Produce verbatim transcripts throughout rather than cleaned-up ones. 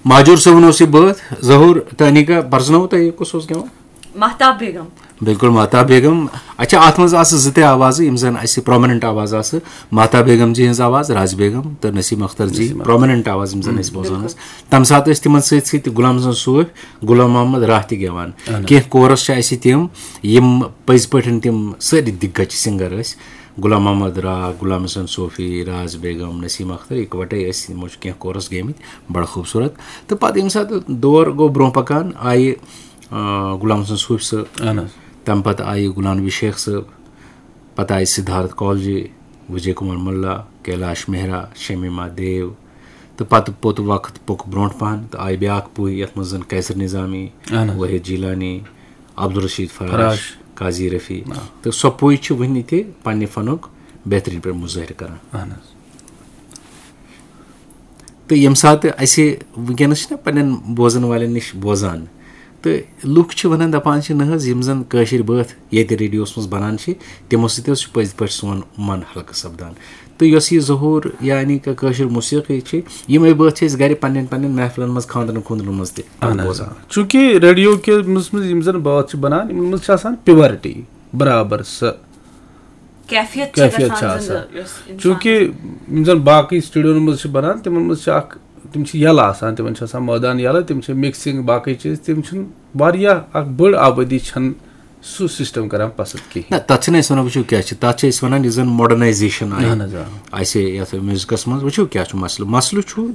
ماجور صٲبُن اوس یہِ بٲتھ، ظہوٗر تہٕ انیٖکا، پرزنووُ تۄہہِ یہِ کُس اوس گٮ۪وان؟ مہتاب بیگم۔ بِلکُل، مہتاب بیگم۔ اچھا، اتھ منٛز آسہٕ زٕ تہِ آوازٕ، یِم زن اسہِ پرومیننٹ آواز آسہٕ، مہتاب بیگم جی ہٕنٛز آواز، راز بیگم تہٕ نسیم اختر جی، پرومیننٹ آواز یِم زن أسۍ بوزان ٲسۍ۔ تمہِ ساتہٕ ٲسۍ تِمن سۭتۍ سۭتۍ تہِ غلام حسن صوفی، غلام محمد راہ تہِ گٮ۪وان۔ کینٛہہ کورس چھِ اسہِ تِم، یِم پٔزۍ پٲٹھۍ تِم سٲری دِگج سِنگر ٲسۍ۔ غلام محمد راہ، غلام حسن صوفی، راز بیگم، نسیم اختر، اِکوٹے ٲسۍ، یِمو چھِ کینٛہہ کورس گیمٕتۍ، بڑٕ خوٗبصوٗرت۔ تہٕ پتہٕ ییٚمہِ ساتہٕ دور گوٚو برونٛہہ پکان، آیہِ آ، غلام حسن صوفی صٲب۔ اہن حظ۔ تَمہِ پتہٕ آیہِ غلام نبی شیخ صٲب، پتہٕ آیہِ سدھارتھ کولجی، وجے کمار ملا، کیلاش مہرا، شمیما دیو۔ تہٕ پتہٕ پوٚت وقت پوٚک برونٛٹھ پہن تہٕ آیہِ بیاکھ پُے، یتھ منٛز زن قیصر نظامی، اہن حظ۔ وحید جیلانی، عبدالرشید فراش، فراش۔ قاضی رفیع۔ تہٕ سۄ پُے چھِ وٕنہِ تہِ پننہِ فنُک بہترین پٲٹھۍ مظٲہرٕ کران۔ اہن حظ۔ تہٕ ییٚمہِ ساتہٕ اَسہِ وٕنکیٚنَس چھِنہ پنٛنٮ۪ن بوزَن والٮ۪ن نِش بوزان، تہٕ لُکھ چھِ وَنان، دَپان چھِ، نہ حظ، یِم زَن کٲشِرۍ بٲتھ ییٚتہِ ریڈیوَس منٛز بَنان چھِ، تِمو سۭتۍ حظ چھُ پٔزۍ پٲٹھۍ سون من ہلکہٕ سَپدان۔ تہٕ یۄس یہِ ظہوٗر یعنی کہِ کٲشِر موسیٖقی چھِ، یِمَے بٲتھ چھِ أسۍ گَرِ پنٛنٮ۪ن پنٛنٮ۪ن محفلَن منٛز، خانٛدرَن خوٗندرَن منٛز تہِ اہن حظ، بوزان۔ آ۔ چوٗنٛکہِ ریڈیو کہِ منٛز منٛز یِم زَن بٲتھ چھِ بَنان، یِمَن منٛز چھِ آسان پیورٹی برابر سۄ کیفیت چھِ کیفیت گژھان چھِ آسان۔ زِندٕ، یۄس اِنسانَس چوٗنٛکہِ یِم زَن باقٕے سٹوڈیوَن منٛز چھِ بَنان، تِمَن منٛز چھِ اَکھ، تِم چھِ یَلہٕ آسان، تِمَن چھِ آسان مٲدان یَلہٕ، تِم چھِ مِکسِنٛگ، باقٕے چیٖز، تِم چھِنہٕ واریاہ اَکھ بٔڑ آبٲدی چھَنہٕ سُہ سِسٹَم کَران پَسنٛد کِہیٖنۍ۔ نہ، تَتھ چھِنہٕ أسۍ وَنان، وٕچھِو کیٛاہ چھِ، تَتھ چھِ أسۍ وَنان یُس زَن ماڈرنایزیشَن آیہِ اہن حظ، آ۔ اَسہِ یَتھ میوٗزِکَس منٛز۔ وٕچھِو کیٛاہ چھُ مَسلہٕ۔ مَسلہٕ چھُ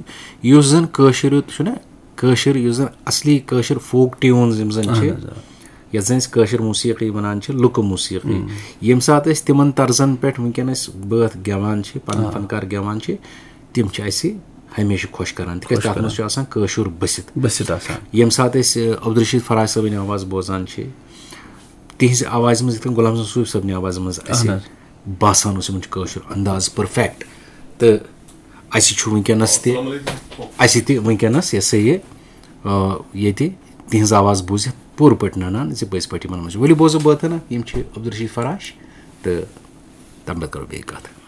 یُس زَن کٲشُر چھُنہ، کٲشِر یُس زَن اَصلی کٲشِر فوک ٹیوٗنز یِم زَن چھِ، اہن حظ، آ۔ یَتھ زَن أسۍ کٲشِر موسیٖقی وَنان چھِ، لُکہٕ موسیٖقی، ییٚمہِ ساتہٕ أسۍ تِمَن طرزَن پٮ۪ٹھ وٕنکیٚنَس بٲتھ گٮ۪وان چھِ، پَنٕنۍ فنکار گٮ۪وان چھِ، تِم چھِ اَسہِ ہمیشہِ خۄش کَران، تِکیٛازِ خۄش تَتھ منٛز کَران۔ چھُ آسان کٲشُر بٔسِتھ۔ بٔسِتھ آسان۔ ییٚمہِ ساتہٕ أسۍ، آ، عبدالرشید فراش صٲبٕنۍ آواز بوزان چھِ، تِہنٛزِ آوازِ منٛز یِتھ کٔنۍ غلام حسن صوفی صٲبنہِ آوازِ منٛز اَسہِ اہن حظ۔ باسان اوس یِمن چھُ کٲشُر انداز پٔرفیکٹ، تہٕ اَسہِ چھُ وٕنکیٚنَس تہِ، اَسہِ تہِ وٕنکیٚنَس یہِ ہسا یہِ، آ، ییٚتہِ تِہنٛز آواز بوٗزِتھ پوٗرٕ پٲٹھۍ نَنان زِ پٔزۍ پٲٹھۍ یِمن منٛز چھُ۔ ؤلِو بوزو بٲتھنا، یِم چھِ عبدالرشید فراش تہٕ تَمہِ پَتہٕ کَرو بیٚیہِ کَتھ۔